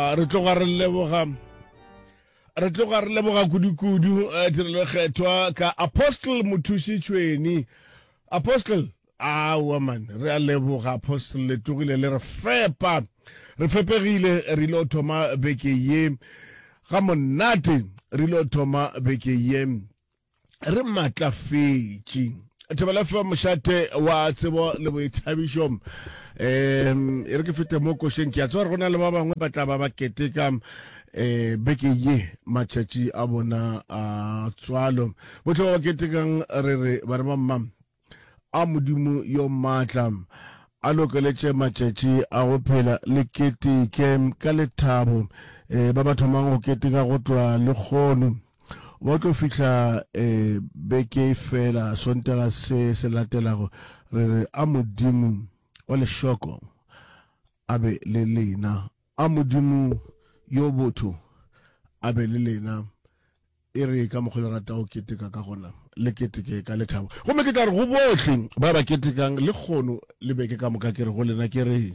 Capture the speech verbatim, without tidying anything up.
Aowa, re tloga re leboga, re tloga re leboga kudu-kudu eh, tirelo e kgethwa ka Apostle Mothuši Tšhweni. Apostle, aowa man, re a leboga Apostle, le tlogile le re fepa. Re fepegile, re ile thoma beke ye ga monate, re ile thoma beke ye re matlafetše. Thobela F M, mošate wa tsebo le boithabišo. Um e re ke fete mo košeng, ke a tseba gore go na le ba bangwe ba tla ba ba keteka um beke ye matšatši a bona a tswalo. Bohle ba ba ketekang re re ba re ba mma a Modimo yo maatla a lokeletše matšatši a go phela le keteke ka lethabo. Um ba ba thomang go keteka go tloga lekgono ba tlo fihla um beke fela Sontaga se se latelago, re re a Modimo wa lešoko a be le lena, a Modimo yo botho a be le lena. E re ka mokgwa le rata go keteka ka gona, le keteke ka lethabo. Gomme ke tla re go bohle ba ba ketekang lekgono le beke ka moka, ke re go lena ke re